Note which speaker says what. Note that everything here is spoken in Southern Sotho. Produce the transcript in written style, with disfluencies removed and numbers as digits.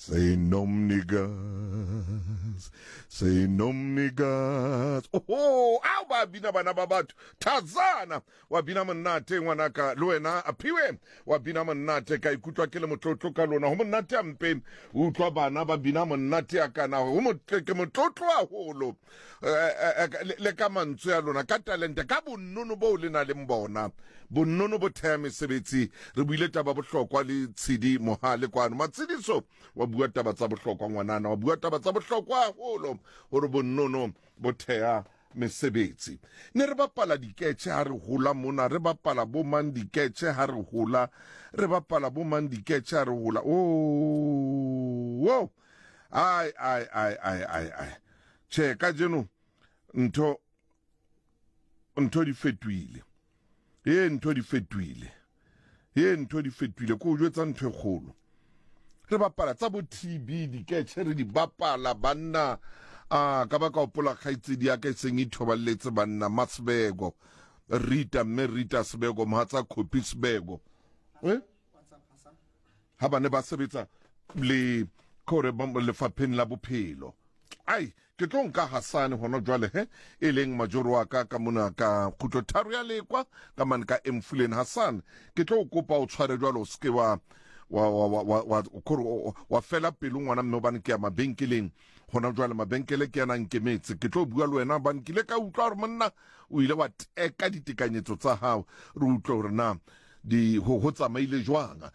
Speaker 1: Senomnikazi, senomnikazi. Oho, ao ba bina bana ba batho. Thazana wa bina monate ngwanaka le wena Aphiwe wa bina monate ka ikutlwa ke le motlotlo ka lona. Ho monate hampe o utlwa bana ba bina monate a kana ho motle ke motlotlo haholo. Eh, eh, eh, le ka mantswe a lona ka talente ka bonnono boo le na leng bona bonnono bo theha mesebetsi re buile taba bohlokwa le tshedi mohale kwano matsediso wa bua taba tsa bohlokwa ngwanana wa bua taba tsa bohlokwa haholo gore bonnono bo theha mesebetsi ne re bapala diketšhe ha re hola mona re bapala bo mang diketšhe ha re hola re bapala bo mang diketšhe ha re hola oh, oh. Ai, ai, ai, ai, ai, ai. Tjhe, kajeno ntho ntho di fetohile. Ee, ntho di fetohile. Ee, ntho di fetohile. Ko o jwetsa ntho e kgolo. Re bapala tsa bo TB diketjhe re di bapala banna. A ka ba ka opola kgaitsedi ya ka e seng ithoballetse banna Masebego. Rita mme Rita Sebego mohatsa Khopi Sebego. Eh? Ha ba ne ba sebetsa le kore lefapheng la bophelo ai ke tlo nka hasane hona jwale he e leng majoro wa ka ka mona ka kgutlo tharo ya lekwa ka mane ka emfuleni hasan ke tlo o kopa o tshware jwalo o seke wa wa wa wa wa wa kore wa fela pelo ngwana mme hobane ke ya mabenkeleng hona jwale mabenkele ke yana nkemetse ke tlo bua le wena hobane ke ile ka utlwa hore monna o ile wa teka ditekanyetso tsa hao re utlwe hore na di ho, ho tsamaile jwang.